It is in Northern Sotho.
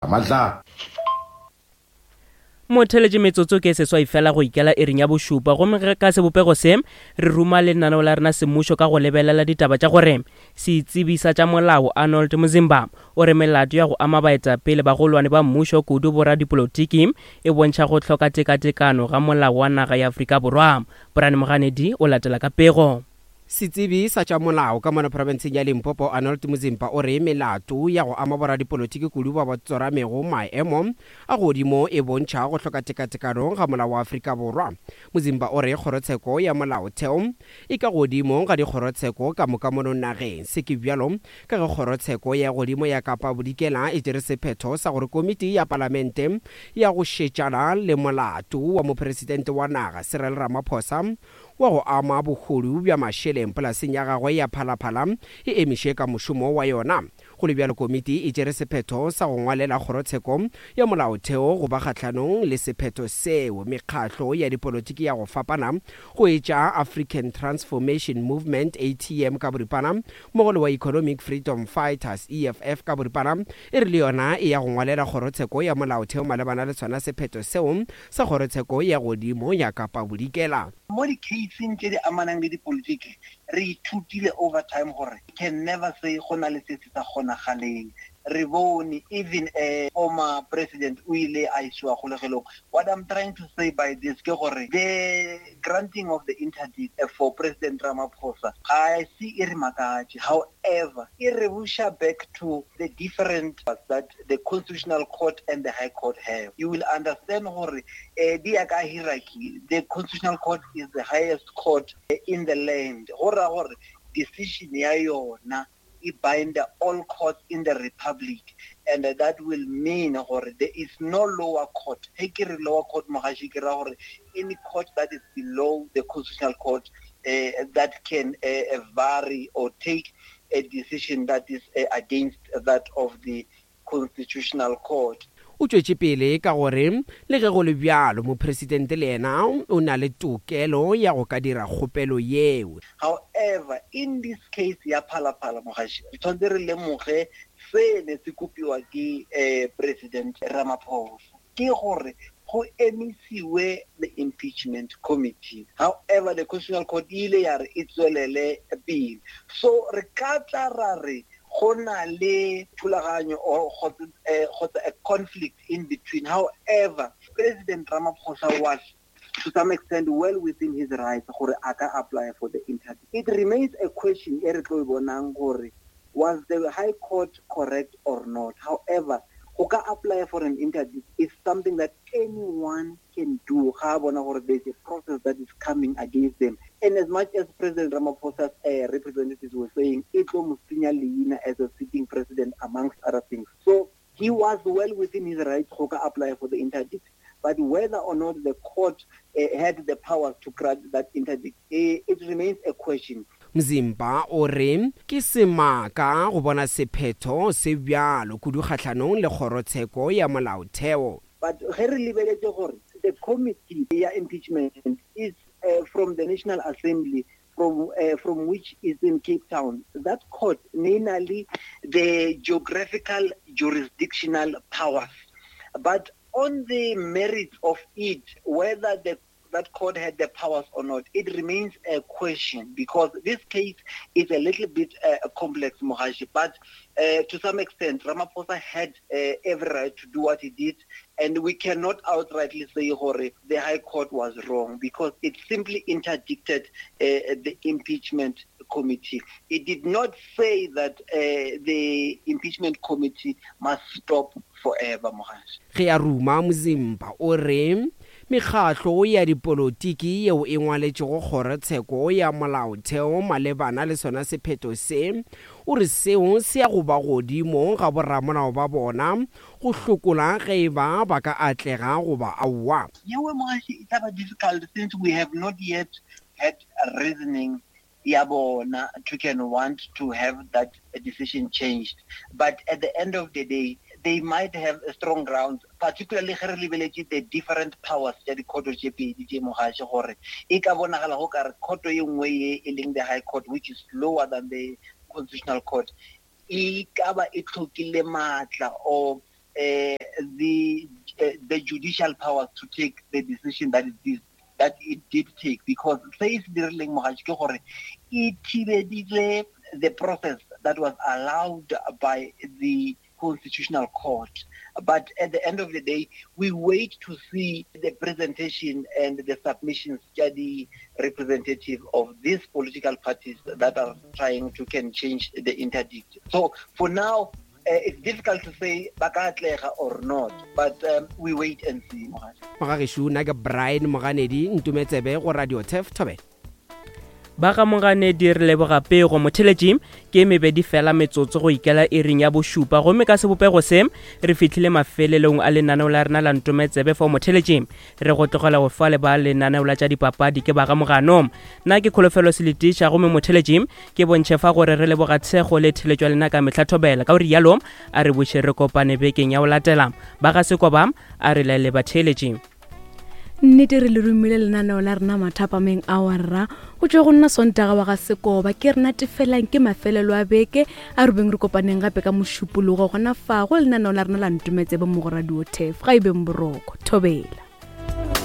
Matla. Motheletše metsotso ke seswai fela go ikela iring ya bošupa gomme ge ka sebopego se re ruma lenaneo la rena semmušo ka go lebelela ditaba tša gore setsebi sa tša molao Arnold Mzimba o re melato ya go ama baetapele bagolwane ba mmušo kudu boradipolotiki e bontšha go hloka tekatekano ga molao wa naga ya Afrika Borwa. Brian Moganedi o latela ka pego. Setsebi sa tša molao ka mono profenseng ya Limpopo Arnold Muzimpa o re melato ya go ama boradipolotiki kudu ba ba tsoramego maemo a godimo e bontšha go hloka tekatekano ga molao wa Afrika Borwa. Muzimpa o re kgorotsheko ya molaotheo e ka godimo ga dikgorotsheko ka moka mono nageng. Se ke bjalo ka ge kgorotsheko ya godimo ya Kapa Bodikela e tšere sephetho sa gore komiti ya palamente ya go šetšana le molato wa mopresidente wa naga Cyril Ramaphosa wa go ama bohodu bja mašeleng polaseng ya gagwe ya Phalaphala e emiše ka mošomo wa yona. Go le bjalo komiti e tšere sephetho sa go ngwalela kgorotsheko ya molaotheo go ba kgahlanong le sephetho seo. Mekgahlo ya dipolotiki ya go fapana go etša African Transformation Movement, ATM ka boripana, mmogo le wa Economic Freedom Fighters, EFF ka boripana, e re le yona e ya go ngwalela kgorotsheko ya molaotheo malebana le sona sephetho seo sa kgorotsheko ya godimo ya Kapa Bodikela. Mo di-case-ing tše di amanang le dipolitiki, re ithutile over time gore you can never say go na le se se sa kgonagaleng. Re bone even a former president o ile a isiwa kgolegelong. What I'm trying to say by this ke gore the granting of the interdict for President Ramaphosa ga se e re makatše. However, e re buša back to the different that the constitutional court and the high court have you will understand gore eh, di ya ka hierarchy the constitutional court is the highest court eh, in the land go ra gore decision ya yona e bind all courts in the republic and that will mean gore there is no lower court he ke re lower court mogaši ke ra gore any court that is below the constitutional court uh, that can uh, vary or take a decision that is uh, against that of the constitutional court. O tšwetše pele ka gore le ge go le bjalo mopresidente le yena o na le tokelo ya go ka dira kgopelo yeo. However, in this case ya Phala Phala Mogaši, re tshwanetse re lemoge se ne se kopiwa ke eh, President Ramaphosa. Ke gore go emisiwe the impeachment committee. However, the Constitutional Court e ile ya re e tswelele pele. So re ka tla ra re go na le thulaganyo or kgotsa a conflict in between. However, President Ramaphosa was to some extent well within his rights gore a ka apply for the interdict. It remains a question e re tlo e bonang gore was the High Court correct or not. However, go ka apply for an interdict is something that anyone can do ga a bona gore there's a process that is coming against them. And as much as President Ramaphosa's representatives were saying, e tlo mo senya leina as a sitting president amongst other things. So he was well within his rights go ka apply for the interdict. But whether or not the court had the powers to grant that interdict, it remains a question. Mzimba o re ke semaka go bona sephetho se bjalo kudu kgahlanong le kgorotsheko ya molaotheo. But ge re lebeletše gore the committee ya impeachment is from the National Assembly from, from which is in Cape Town, that court ne e na le the geographical jurisdictional powers. But on the merits of it, whether the that court had the powers or not, it remains a question because this case is a little bit complex, Mogashi. But to some extent, Ramaphosa had every right to do what he did, and we cannot outrightly say gore the High Court was wrong because it simply interdicted the impeachment committee. It did not say that the impeachment committee must stop forever, Mogashi. Ge a ruma Mzimba o re mekgatlo ya dipolotiki yeo e ngwaletšego kgorotsheko ya molaotheo malebana le sona sephetho se, o re seo se ya go ba godimo ga boramolao ba bona go hlokola ge e ba ba ka atlega goba aowa. Yeo Mogashi e tla ba difficult since we have not yet had reasoning ya bona to can want to have that decision changed. But at the end of the day, they might have a strong ground, particularly ge re lebeletše the different powers tša dikhoto tše pedi tše Mogaši, gore e ka bonagala go ka re khoto ye nngwe ye e leng the High Court, which is lower than the Constitutional Court, e ka ba e hlokile maatla or uh, the uh, the judicial powers to take the decision that it did that it did take because se se dirileng mogatši ke gore e thibeditse the process that was allowed by the constitutional court. But at the end of the day, we wait to see the presentation and the submissions the representative of these political parties that are trying to can change the interdict. So for now, uh, it's difficult to say ba ka atlega or not but um, we wait and see Mogagešo nna ke Brian Moganedi ntumetsebe go Radio Turf Thobela. Ba ga Moganedi re leboga pego. Motheletši ke mebedi fela metsotso go ikela iring ya bošupa gomme ka sebopego se re fihlile mafelelong a lenaneo la rena la ntometsebe fao motheletši re go tlogela go fa le ba lenaneo la tša dipapadi ke ba ga Mogano. Nna ke Kholofelo Seletiša gomme motheletši ke bontšhe fa gore re leboga tshego le theletšo ya lena ka mehla thobela. Ka go rialo a re buše re kopane bekeng ya go latela. Ba ga Sekoba a re laele batheeletši. Nnete re le romile lenaneo la rena mathapameng a wa rra go tšwa go nna Sontaga wa ga Sekoba ke rena tefelang ke mafelelo a beke a re beng re kopaneng gape ka Mošupologo gona fa go lenaneo la rena la Ntometsebe mo go Radio Tef ga e beng boroko thobela.